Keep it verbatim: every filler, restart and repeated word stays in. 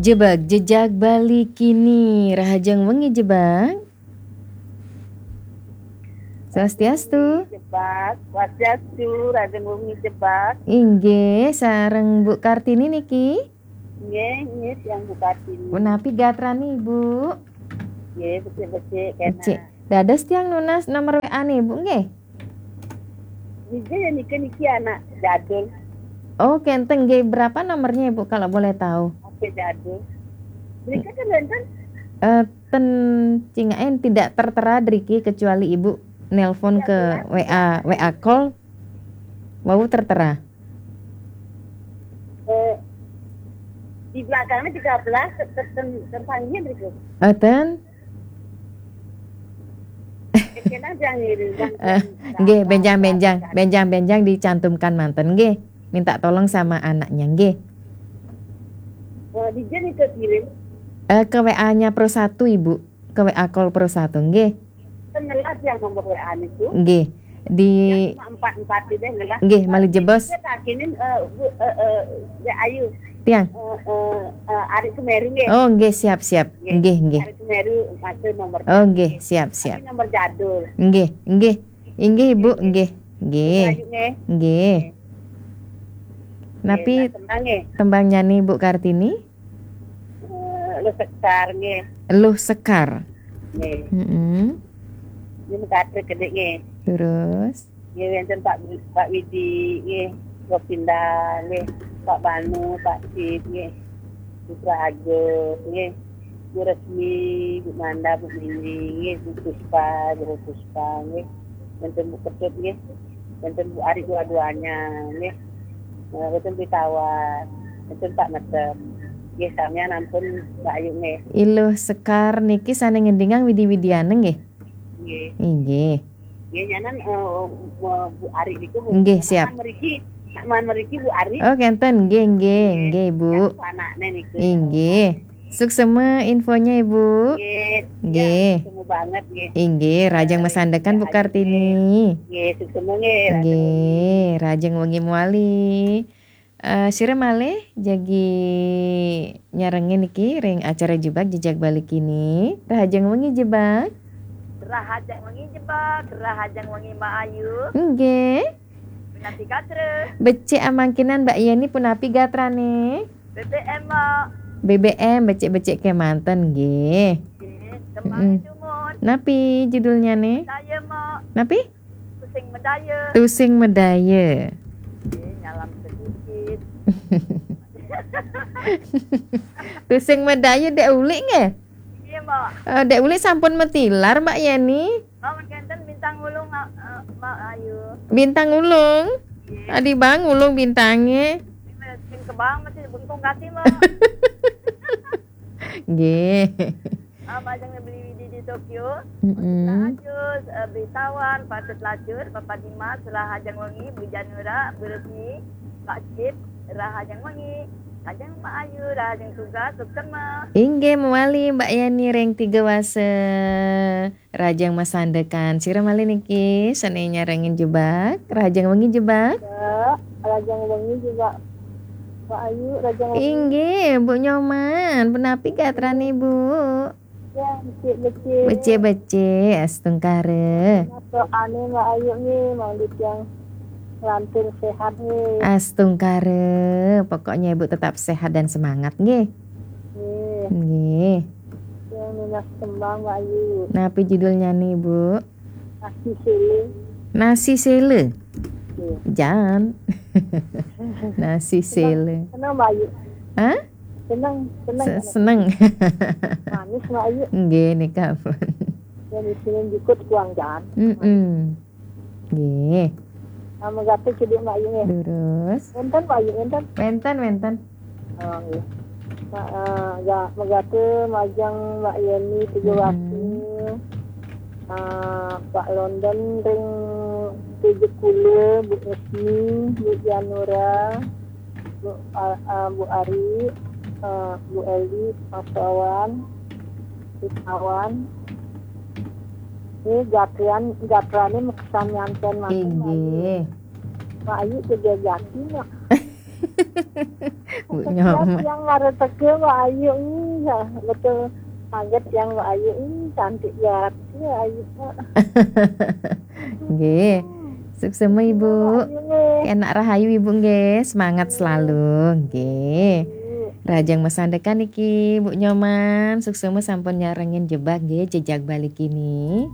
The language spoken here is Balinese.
Jebak, jejak Bali kini, rahajeng wengi Jebak. Swastiastu. Jebak, swastiastu, rahajeng wengi Jebak. Inggih, sareng Bu Kartini niki. Nggih, nggih, tiang Bu Kartini. Punapi gatrane, Bu? Nggih, becik-becik kena. Becik. Dados tiang nunas nomor W A-ne, Bu, nggih? Nggih, ya niki, niki anak jadul. Oh, kenten nggih. Berapa nomornya, Bu, kalau boleh tahu? Oke, jadul. Mereka kan wonten? Eh, ten cingaken tidak tertera driki kecuali Ibu nelpon ke W A, W A call. Wau tertera. Eh, di belakangnya tiga belas, ter-, ter-, terpanggilnya berikut. Enten? Kena yang ini, yang, Eh, yang, nggih, yang, benjang-benjang, yang, benjang-benjang dicantumkan manten, nggih. Minta tolong sama anaknya, nggih. Eh, di Jen itu kirim. Eh, ke W A-nya Pro satu, Ibu. Ke W A call Pro satu, nggih. Kan ngelas yang nomor W A itu. Nggih. Di Yang empat empat itu ngelas. Nggih, malih jebos. Saya takinin, eh, Bu, eh, eh, ya, ayo. Tiang. Eh, eh, eh, Ari Semeru, nggih. Oh, nggih, siap, siap. Nggih. Nggih, nggih. Ari Semeru, masuk nomor. Oh, nggih, siap, siap. Tapi nomor jadul. Nggih, nggih. Inggih, Ibu, nggih. Nggih. Ayo, nggih. Nggih. Nggih. Napi Nggih, nah, tembang, nggih. Tembang nyanyi Bu Kartini? Eh, Luh Sekar, nggih. Luh Sekar. Nggih. Mm-mm. Ini mekatrek kedek, nggih. Terus? Nggih, wonten Pak, Pak Widi, nggih. Gopinda, nggih. Pak Banu, Pak Sid, nggih. Putra Agus, nggih. Bu Resmi, Bu Manda, Bu Mini, nggih. Bu Puspa, Bu Puspa, nggih. Wonten Bu Ketut, nggih. Wonten Bu Ari dua-duanya, nggih. Eh, wonten Bu Tawar, wonten Pak Metem. Nggih, samian ampun, Mbak Ayu, nggih. Iluh Sekar niki sane ngendingang widi-widiane, nggih? Nggih. Inggih. Nggih, nyanan, eh, Bu Ari niku, Bu. Nggih, siap. Sak mriki, sak mriki Bu Ari. Oh, kenten. Nggih, nggih, nggih, Bu. Yang anaknya niku. Inggih. Suksema infonya, Ibu. Nggih. Nggih. Ya, suksema banget, nggih. Inggih, rahajeng masandekan, Bu Kartini. Nggih, suksema, nggih, rahajeng wengi. Nggih, rahajeng wengi mawali. Eh, sira malih jagi nyarengin niki ring acara Jebak Jejak Bali kini. Rahajeng wengi, Jebak. Rahajeng wengi, Jebak. Rahajeng wengi, Mbak Ayu. Nggih. Punapi gatra? Becik amangkinan, Mbak Yeni, punapi gatrane? B B M, Mbak. B B M, becik-becik kemanten, nggih. Nggih, tembang Mm-mm. Jumut. Napi judulnya, nih? Saya, Mbak. Napi? Tusing Medaya. Tusing Medaya. Nggih, nyalam sedikit. Tusing Medaya Dek Ulik, nggih? Nggih, Mbak. Eh, Dek Ulik sampun matilar, Mbak Yeni. Mbak, mangkenten Bintang Ulung, eh, Mbak Ayu. Bintang Ulung? Nggih. Adi bang ulung bintange. Sing kebang masih bengkung kati, Mbak. Nggih. Ah, majeng beli widi di Tokyo. Mm-mm. Ajus, eh, Beli Tawan, Patut Lacur, Papa Dimas, rahajeng wengi, Bu Janura, Bu Resmi, Pak Cip, rahajeng wengi. Ajeng Mbak Ayu, rahajeng tugas, suksema. Inggih, mawali Mbak Yani ring Tiga Wasa. Rahajeng masandekan. Sira malih niki sane nyarengin Jebak. Rahajeng wengi, Jebak. Ya, rahajeng wengi, Jebak. Mbak Ayu, rahajeng wengi. Inggih, Bu Nyoman. Punapi gatrane, Bu? Ya, becik-becik. Becik-becik, astungkara. Masuk ane, Mbak Ayu, nih, mau tiang lantur sehat, nih. Astungkara. Pokoknya Ibu tetap sehat dan semangat, nggih. Nggih. Nggih. Yang nunas tembang, Mbak Ayu. Napi judulnya nih, Bu? Nasi Sele. Nasi Sele? Nggih. Jan. Nasi Sele. Senang, Mbak Ayu. Hah? Senang, senang. Se-, senang. Manis, Mbak Ayu. Nggih, nika pun. Yang disini jukut kuang jan. Mm-mm. Nggih. Ah, megate cedhak Mbak Ayu nggih. Terus? Wenten, Mbak Ayu, wenten? Wenten, wenten. Oh, nggih. Mbak, eh, ya, megate majeng Mbak Yeni Tiga Wasi. Mm-mm. Eh, Pak London ring Tujuh Kula, Bu Esmi, Bu Janura, Bu, ah, ah, Bu Ari, eh, Bu Eli, Mas Wawan, Bu Tawan. Ini gatrian, gatrane meksan nyanten mangkin, Mbak Ayu. Inggih. Mbak Ayu kerja jati, Mak. Bu Nyoman. Yang ngareteke Mbak Ayu, ih, ya, betul. Kaget yang Mbak Ayu, ih, cantik banget ya Ayu. Nggih. Suksema Ibu. Ayu nih. Enak rahayu Ibu nggih, semangat selalu nggih. Rajang masandekan iki Bu Nyoman, suksema sampun nyarengin jebak nggih, jejak balik ini.